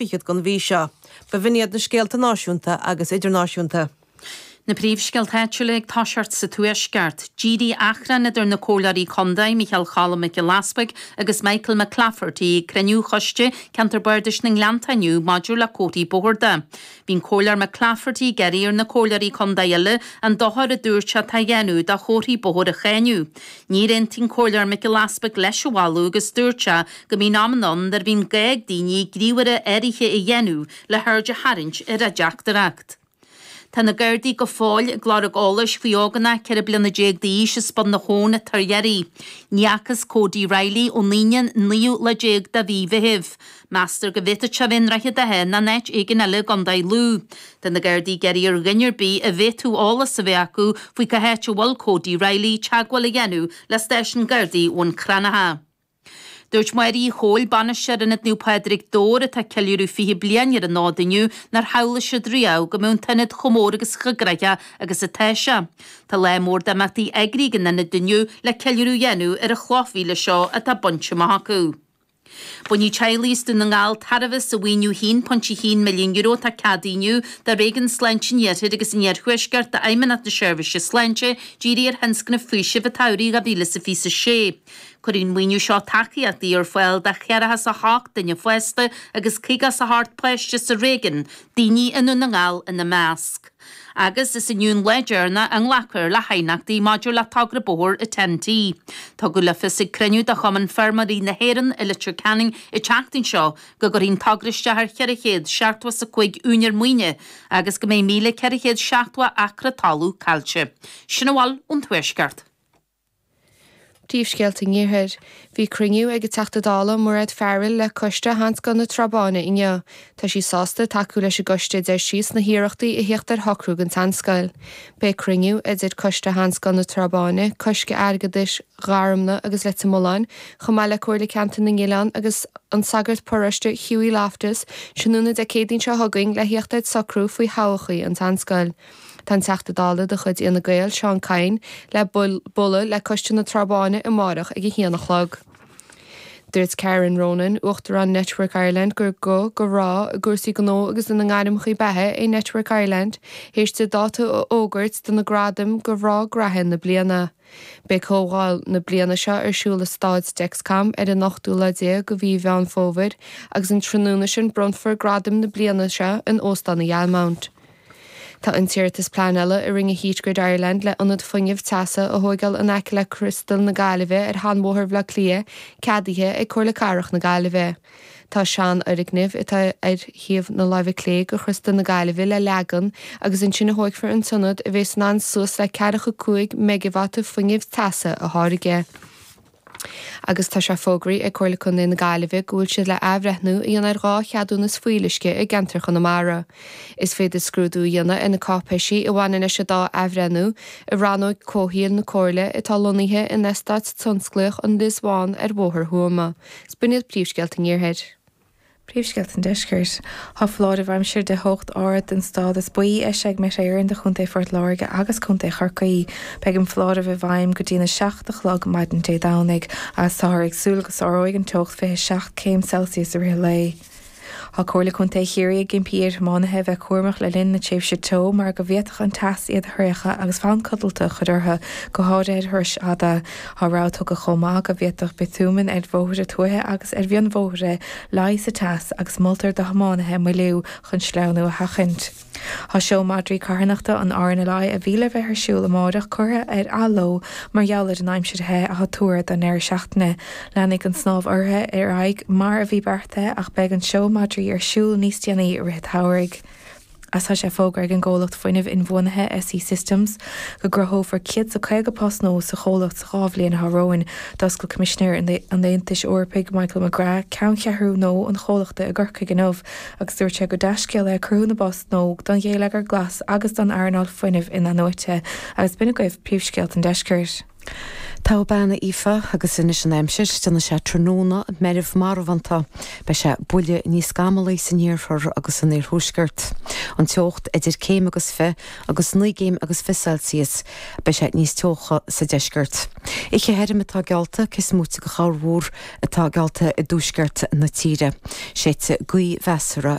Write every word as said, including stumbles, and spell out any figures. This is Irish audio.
fichead den mhí seo. B'in iad na scéalta náisiúnta agus idirnáisiúnta. Na príomhscéalta áitiúla ag toiseacht sa Tuaisceart, D'éirigh achrann idir na comhairleoirí contae Micheál Cholm Mac Giolla Easbuig agus Michael McClafferty ag cruinniú choiste Ceantar Bardais na nGleannta inniu maidir le comharthaí bóthair de. Bhí an comhairleoir McClafferty ag iarraidh ar na comhairleoirí contae eile an dochar a dúirt sé atá á dhéanamh do chomharthaí bóthair a cháineadh. Níor aontaigh an comhairleoir Mac Giolla Easbuig leis an mholadh agus dúirt sé go mbíonn amanna ann nuair a bhíonn gá ag daoine gníomhartha áirithe a dhéanamh le haird a tharraingt ar a dteachtaireacht. Tá na Gardaí go fóill ag lorg eolais faoi ógánach ceithre bliana déag d'aois as Bun na hAbhann atá ar iarraidh. Ní fhacthas Cody Riley ón Aoine naoú lá déag de mhí Mheithimh. Meastar go bhféadfadh sé a bheith i nDroichead Átha nó in áit éigin eile i gContae Lú. Tá na Gardaí ag iarraidh ar dhuine ar bith a bhféadfadh eolas a bheith acu faoi cá háit a bhfuil Cody Riley teagmháil a dhéanamh le stáisiún Gardaí Bhun Cranncha. Dúirt Máire Uí Chomhail, bainisteoir Ionad Naomh Pádraig Dobhair atá ag ceiliúradh fiche bliain ar an fhód inniu nár shamhlaigh siad riamh go mbeadh an t-ionad chomh mór agus chomh gnóthach agus atá sé. Tá lá mór d'imeachtaí eagraithe ag an ionad inniu le ceiliúradh a dhéanamh ar an chloch mhíle seo atá bainte amach acu. Bainfidh teaghlaigh as Dún na nGall tairbhe as an mhaoiniú haon pointe haon milliún euro atá ceadaithe inniu do Réigiún Sláinte an Iarthair agus an Iarthuaiscirt d'Fheidhmeannacht na Seirbhíse Sláinte dírithe ar thionscnamh faoisimh an tsamhraidh dhá mhíle is a fiche a sé. Cuirfidh an maoiniú seo tacaíochtaí ar fáil do cheathracha is a hocht duine fásta agus caoga is a hocht páiste sa réigiún, daoine i nDún na nGall ina measc. Agus is inniu an lá deireanach a nglacfar le haighneachtaí maidir le togra bóthair an Ten T. Tugadh le fios ag cruinniú de Chumann Feirmeoirí na hÉireann i Leitir Ceanainn an tseachtain seo go gcuirfidh an togra isteach ar cheithre chéad seachtó is a cúig úinéir maoine agus go mbeidh míle ceithre chéad seachtó acra talún caillte. Sin a bhfuil ón Tuaisceart. Príomhscéalta an Iarthair. Bhí cruinniú ag an Teachta Dála Mairéad Farrell le coiste Sheanscoil na Trá Báine inniu. Tá sí sásta tacú leis an gcoiste deir sí sna hiarrachtaí a theacht ar shocrú don tseanscoil. Beidh cruinniú idir coiste Sheanscoil na Trá Báine, Coiste Airgeadais Gharmna agus Leitir Mealláin, chomh maith le Comhairle Ceantar na nOileán agus an sagart paróiste Hughie Loftus, tráthnóna Dé Céadaoin seo chugainn le theacht ar socrú faoi thodhchaí an tseanscoil. Tá an Teachta Dála de chuid Fhine Gael Seán Kyne le bualadh le coiste na Trá Báine amárach ag a haon a chlog. Dúirt Karen Ronan, Uachtarán Network Ireland gur guth do mhná i gcúrsaí gnó agus ina ngairmeacha beatha é Network Ireland, théis di dáta a fhógairt do na gradaim do mhná gnaithe na bliana. Beidh comhdháil na bliana seo ar siúl i Staid Dexcom ar an ochtú lá déag de mhí Mheán Fómhair agus an tráthnóna sin bronnfar gradaim na bliana seo in Óstán an Ghalmount. Tá an t-iarratas pleanála a rinne Heat Grid Ireland le ionad fuinnimh teasa a thógáil in aice le Criostal na Gaillimhe ar sheanbhóthar Bhaile Átha Cliath ceadaithe ag Comhairle Cathrach na Gaillimhe. Tá seanfhoirgneamh atá ar thaobh na láimhe clé de Chriostal na Gaillimhe le leagan agus ansin a thógfar an t-ionad a bheas in ann suas le ceathracha cúig meigeavata fuinnimh teasa a tháirgeadh. Agus tá sé fógraithe ag Comhairle Contae na Gaillimhe go bhfuil siad le athbhreithniú a dhéanamh ar dhá cheadúnas fuíolluisce i gceantar Chonamara. Is féidir scrúdú a dhéanamh ar na cáipéisí a bhaineann leis an dá athbhreithniú i rannóg comhshaoil na Comhairle atá lonnaithe in eastát tionsclaíoch an Lios Bhán ar Bhóthar Thuama. B'in iad príomhscéalta an Iarthair. Príomhscéalta an Deiscirt. Tá foláireamh aimsire de theocht ard den stádas buí eisithe ag Met Éireann do Chontae Phort Láirge agus Contae Chorcaí. Beidh an foláireamh i bhfeidhm go dtí na seacht a chlog maidin Dé Domhnaigh, agus táthar ag súil go sáróidh an teocht fiche seacht céim Celsius i rith an lae. Tá Comhairle Contae Chiarraí ag impí ar thiománaithe bheith cúramach le linn na tréimhse teo mar go bhféadfadh an teas iad a thraochadh agus fonn codlata a chur orthu go háirithe ar thurais fhada. Tá rabhadh tugtha chomh maith go bhféadfadh biotúman ar bhóithre tuaithe agus ar mhionbhóithre luí sa teas agus moltar do thiománaithe moilliú chun sleamhnú a sheachaint. Tá seó madraí carthanachta an R N L I a bhí le bheith ar siúl amárach curtha ar athló mar gheall ar an aimsir the atá tuartha don deireadh seachtaine. Leanfaidh an snámh urraithe ar aghaidh mar a bhí beartaithe ach beidh an seó madraí ar siúl níos déanaí i rith an tsamhraidh. Agus tá sé fógartha ag an gcomhlacht fuinnimh inbhuanaithe S E Systems go gcruthófar céad is caoga post nua sa chomhlacht sa dhá bhliain atá romhainn. D'oscail Coimisinéir an Aontais Eorpaigh Michael McGrath ceanncheathrú nua an chomhlachta i gCorcaigh inniu agus dúirt sé gur dea-scéal é cruthú na bpost nua don gheilleagar glas agus don earnáil fuinnimh in-athnuaite agus b'in agaibh príomhscéalta an deiscirt. Tá bean Aoife agus anois an aimsir déanfaidh sé tráthnóna meirbh marbhánta, Beidh sé buille níos scamallaí san iarthar agus san iarthuaisceart. An teocht idir céim agus fiche agus naoi gcéim agus fiche Celsius beidh sé níos teocha sa deisceart. Oíche thirim atá geallta cé is móite de chorrmhúr atá geallta i dtuaisceart na tíre. Séidfidh gaoth mheasartha